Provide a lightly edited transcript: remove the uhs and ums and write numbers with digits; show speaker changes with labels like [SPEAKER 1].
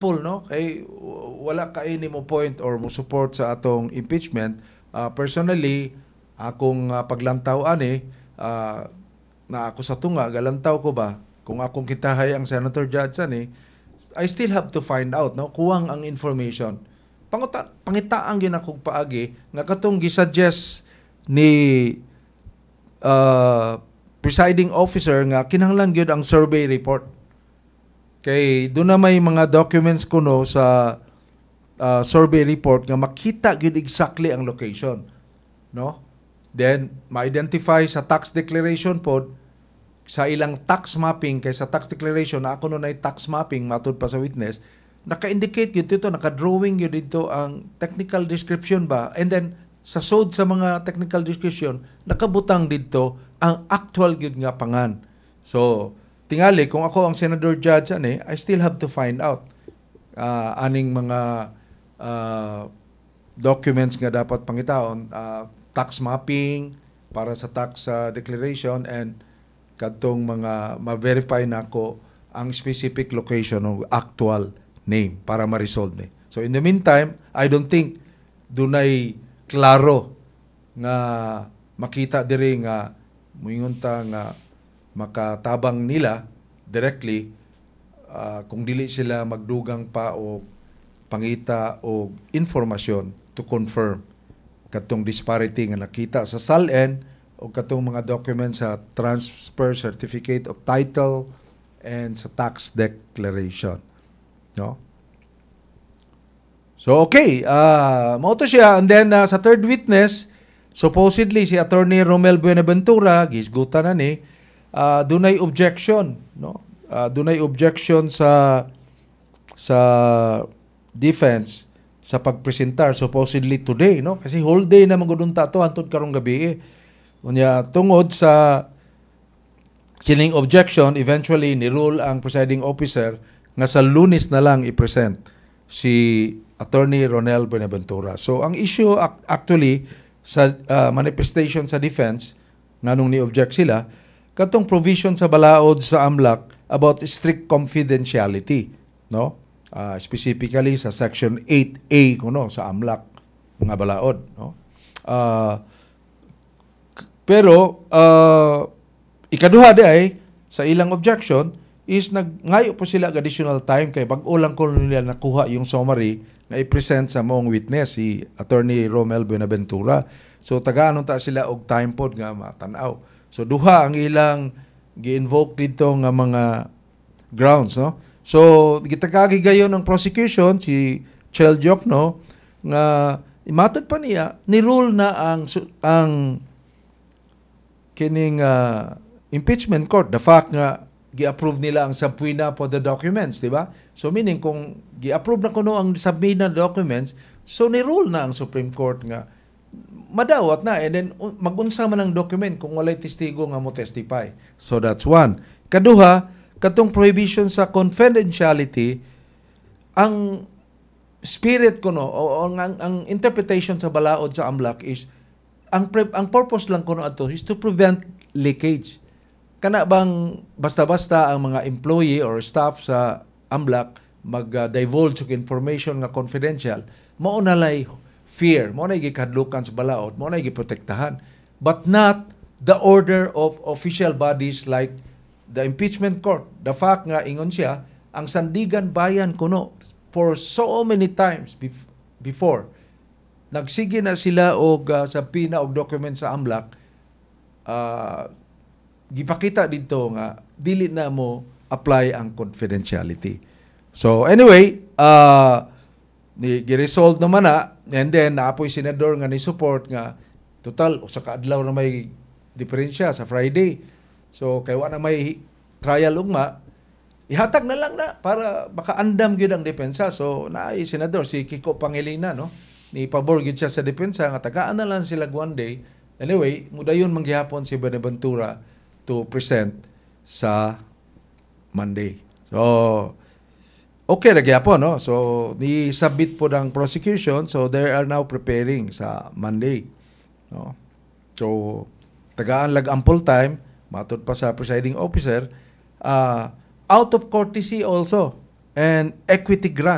[SPEAKER 1] No, kay wala kay ni mo point or mo support sa atong impeachment. Personally, akong paglantaw ani, na ako sa tunga galantaw ko ba, kung akong kitahay ang senator judge ani, I still have to find out, no? Kuwang ang information. Panguta, pangitaan gyud akong paagi nga katong gisuggest ni presiding officer nga kinahanglan gyud ang survey report, kay doon na may mga documents kuno sa survey report nga makita gyud exactly ang location, no? Then ma-identify sa tax declaration pod, sa ilang tax mapping, kay sa tax declaration na ako no nay tax mapping. Matud pa sa witness, naka-indicate gyud dito, naka-drawing gyud dito ang technical description ba, and then sa sod sa mga technical description, nakabutang dito ang actual gyud nga pangan. So tingali kung ako ang senator judge ani, I still have to find out aning mga documents nga dapat pangitaon, tax mapping para sa tax declaration and kadtong mga ma-verify nako ang specific location o actual name para ma-resolve ni. So in the meantime, I don't think dunay klaro nga makita diri nga muingon ta nga makatabang nila directly kung dili sila magdugang pa o pangita og informasyon to confirm katong disparity nga nakita sa SALN o katong mga documents sa transfer certificate of title and sa tax declaration, no? So okay, mao to siya. And then sa third witness, supposedly si Attorney Romel Buenaventura, gisgutan na ni, dunay objection, no? Dunay objection sa defense sa pagpresentar supposedly today, no? Kasi whole day na man gud unta to hantod karong gabi eh. Unya tungod sa kining objection, eventually ni rule ang presiding officer nga sa Lunes na lang i-present si Attorney Ronel Buenaventura. So ang issue actually sa manifestation sa defense, nganong ni-object sila, katong provision sa balaod sa AMLC about strict confidentiality, no? Specifically sa section 8A kuno sa AMLC mga balaod, no? Pero ikaduha di ay sa ilang objection is nagngayo po sila og additional time kay bag-o lang ko nila nakuha yung summary nga i-present sa maong witness, si Attorney Romel Buenaventura. So tagaan ta sila og time pod nga matanaw. So duha ang ilang gi-invoke dito nga mga grounds, no? So gitakagi gayon ng prosecution, si Chel Diokno, nga imatod pa niya ni rule na ang kining impeachment court, the fact nga gi-approve nila ang subpoena for the documents, di ba? So meaning kung gi-approve na kuno ang subpoena documents, so ni rule na ang Supreme Court nga madawat na, and then magunsa man ang document kung walay testigo nga mo testify. So that's one. Kaduha, katong prohibition sa confidentiality, ang spirit kuno o ang interpretation sa balaod sa AMLC is ang purpose lang kuno ato is to prevent leakage. Kana bang basta-basta ang mga employee or staff sa AMLC mag-divulge og information nga confidential, mao na lay fear, mao na gikadlukan sa balaod, mao na giprotektahan. But not the order of official bodies like the impeachment court. The fact nga ingon siya, ang Sandiganbayan kuno for so many times before nagsige na sila og subpoena og document sa AMLC, gipakita dito nga dili na mo apply ang confidentiality. So anyway, ni gi-resolve naman na, and then naapoy senador nga ni support nga total usa ka adlaw na may diferensya sa Friday. So kay wa na may trial ugma, ihatag na lang na para makaandam gyud ang depensa. So naay senador, si Kiko Pangilinan, no? Ni pabor gyud siya sa depensa nga tagaan na lang sila one day. Anyway, mudayon man gihapon si Buenaventura to present sa Monday. So okay ra gyapon, no? So ni submit po ng prosecution, so they are now preparing sa Monday, no? So tagaan lag ample time matud pa sa presiding officer, out of courtesy also and equity grant.